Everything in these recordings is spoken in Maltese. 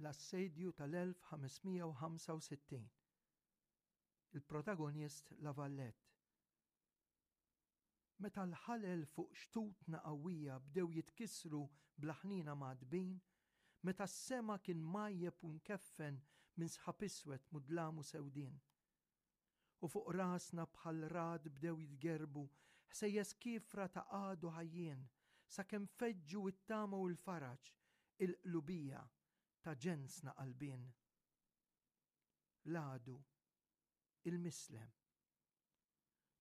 L-Assedju tal-1565. Il-protagonist La Valette. Meta l-ħalel fuq xtutna qawwija bdew jitkissru bla ħniena mgħaddbin, meta s-sema kien mgħajjeb u mkeffen minn sħab iswed mudlam u sewdien. U fuq rasna bħal ragħad bdew jitgerrbu ħsejjes kiefra ta' għadu ħajjien, sakemm feġġu t-tama u l-faraġ, il-qlubija ta' ġensna qalbien. L-għadu, il-mislem.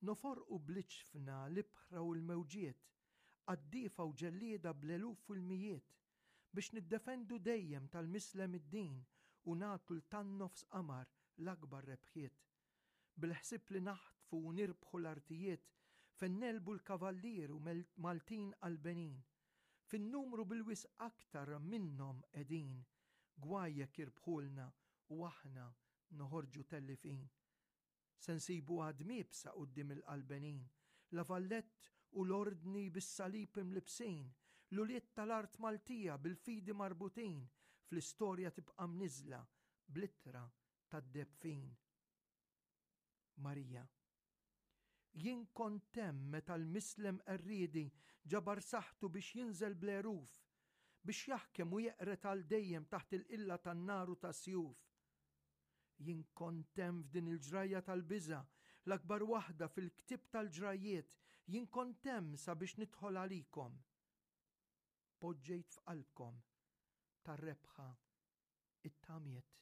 Noforqu bl-iġfna l-ibħra u l-mewġiet, qaddiefa u ġellieda bl-eluf u l-mijiet, biex niddefendu dejjem tal-mislem id-din u nagħtu 'l tan-nofs qamar l-akbar rebħiet. Bil-ħsieb li naħtfu u nirbħu l-artijiet, fejn negħlbu l-kavallier u Maltin qalbenin. Fin-numru bil-wisq aktar minnhom qegħdin, gwaj jekk jirbħulna u aħna noħorġu tellifin. Se nsibu għadm iebsa quddiem il-qalbenin, La Vallette u l-Ordni bis-salib imlibbsin, l-ulied tal-art Maltija bil-fidi marbutin, fl-istorja tibqa' mniżżla bl-ittra tad-deheb fin. Marija. Jien kont hemm meta l-mislem qerriedi ġabar saħħtu biex jinżel bl-għeruf, biex jaħkem u jeqred għal dejjem taħt il-qilla tan-nar u tas-sjuf. Jien kont hemm f'din il-ġrajja tal-biża', l-akbar waħda fil-ktieb tal-ġrajjiet, jien kont hemm sabiex nidħol għalikom. Poġġejt f'qalbkom tar-rebħa it-tamiet.